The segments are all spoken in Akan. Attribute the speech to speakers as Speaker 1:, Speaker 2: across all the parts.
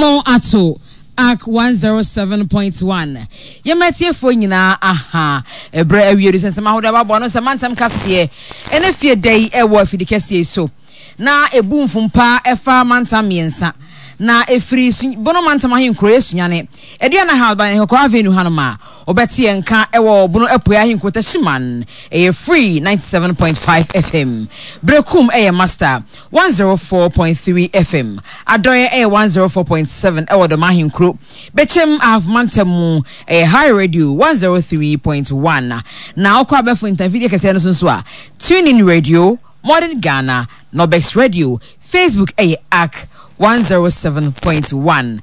Speaker 1: Anammɔn ato Ark 107.1. Yɛma atiefoɔ nyinaa aha. Ɛberɛ awie du sɛ nsɛm ahodoɔ aboaboa ano sɛ mantam kaseɛ ɛne fie da yi ɛwɔ afidi kɛseɛ yi so. Na ɛbu mfompa ɛfa mantam mmiɛnsa. Na ɛfiri Su Bono mantam ahenkuro yɛ Sunyane, Aduana House by Nkɔkɔɔ Avenue hanom a, wobɛte yɛn nka ɛwɔ Bono Apueɛ ahenkuro Techiman. Ɛyɛ Free 97.5 FM. Berekum ɛyɛ Master 104.3 FM. Adɔeɛ ɛyɛ 104.7 ɛwɔ Dɔm ahenkuro. Bɛkyɛm Ahafo mantam mu ɛyɛ High Radio 103.1. Na wokɔ abɛɛfo ntamfidie kɛseɛ no so nso a, TuneIn Radio, Modern Ghana, Nobex Radio, Facebook ɛyɛ Ark 107.1,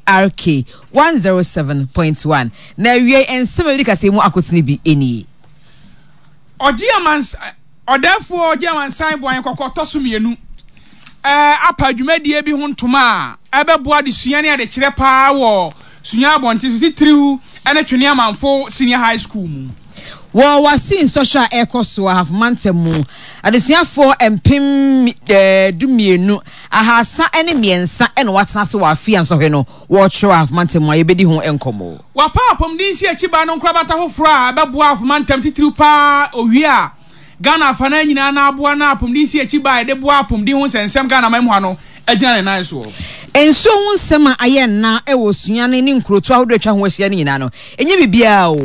Speaker 1: ARK 107.1. Na awiei nsɛm a ɛdi kaseɛ mu akotene bi nie.
Speaker 2: Ɔgye amans Ɔdɛɛfoɔ ɔgye amansan boa yɛn kɔkɔ tɔ so mmienu apa dwumadie bi ho ntoma a ɛbɛboa adesua ne adekyerɛ paa wɔ Sunyani abɔnten so titiriw ne Twene Amanfo Senior High School mu.
Speaker 1: Wɔ WASSCE nsɔhwɛ a ɛrekɔ so wɔ Ahafo Mantam mu, adesuafoɔ mpem 12, 303 na wɔatena ase wɔ afe a nsɔhwɛ no wɔretwerɛ wɔ Ahafo Mantam mu a yɛbɛdi ho nkɔmmɔ.
Speaker 2: Wɔapaw apɔmuden nsiakyibaa no nkorabata foforo a ɛbɛboa Ahafo Mantam titiriw pa ara owie a Ghana afanan nyinaa na aboa na apɔmuden nsiakyibaa a yɛde boa apɔmuden ho nsɛnsɛm Ghana man mu ha no agyina ne nan soɔ.
Speaker 1: Nsuo ho nsɛm a ayɛ nna wɔ Sunyani ne nkurotoɔ ahodoɔ a atwa ho ahyia no nyinaa no, ɛnyɛ biribiara o.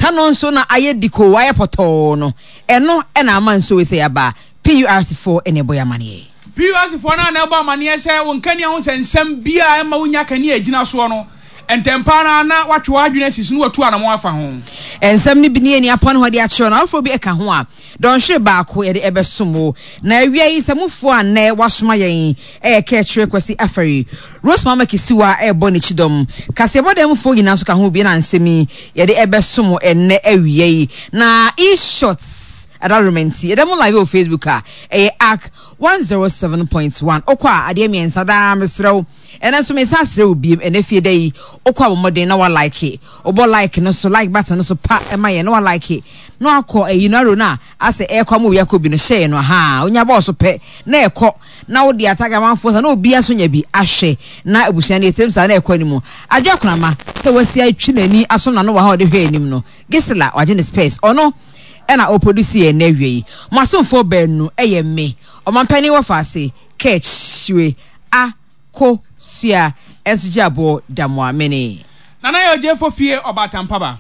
Speaker 1: Tanɔ nso na ayɛ dikoo, ayɛ pɔtɔɔ no, ɛno na ama nsuo wei sɛ aba. PURC foɔ na ɛbɔ yɛn amaneɛ.
Speaker 2: PURC foɔ no ara na ɛbɔ amaneɛ sɛ wo nkanea ho nsɛnsɛm biara a ɛmma wonnya kanea a ɛgyina soɔ no, Ntɛmpa ara na watwe w'adwene asi so na watu anammɔn afa ho.
Speaker 1: Nsɛm no bi ne yɛn apɔn hɔ de akyerɛw no, afoforɔ bi ka ho a, dɔnhwere baako yɛde ɛbɛsom wo. Na awia yi sɛ mofoɔ a nnɛ wɔasoma yɛn yɛ Kɛkyerɛ Kwasi Afari, Rose Mama Kisiwa rebɔ n'akyi dɔm, kaseɛbɔ dan mufoɔ nyinaa nso ka ho bi na nsɛm yi yɛde ɛbɛsom wo ɛnnɛ awia yi. Na E-Shots adaworoma nti, yɛda mo live wɔ Facebook a ɛyɛ Ark 107.1. Wokɔ a adeɛ mmiɛnsa daa mesrɛ wo. Ɛnɛ nso mesan srɛ wo biem ɛnɛ fie da yi wokɔ a bɔ mmɔden na wa like wobɔ like no so like button no so pa ɛma yɛn na wa like na wakɔ ɛyi no arrow no a asɛ ɛkɔ ama obi akɔ bi no hyɛ yɛn no ahaa onya bɔɔ so pɛ na ɛkɔ na wode atag amanfoɔ sa na obi nso nya bi ahwɛ na abusua no yɛtirim saa na ɛkɔ anim adwo akonama sɛ wasi atwi n'ani asom n'ano wɔ ha ɔde hwɛ anim no Gisela wagye ne space ɔno ɛna ɔproduce yɛn na awie yi mo asomfoɔ baanu ɛyɛ me ɔmampanin wɔ faase kɛkyire a ko sua nso gye aboɔ da mo amene.
Speaker 2: Nana yɛ ogyefo fie ɔbaatan paba.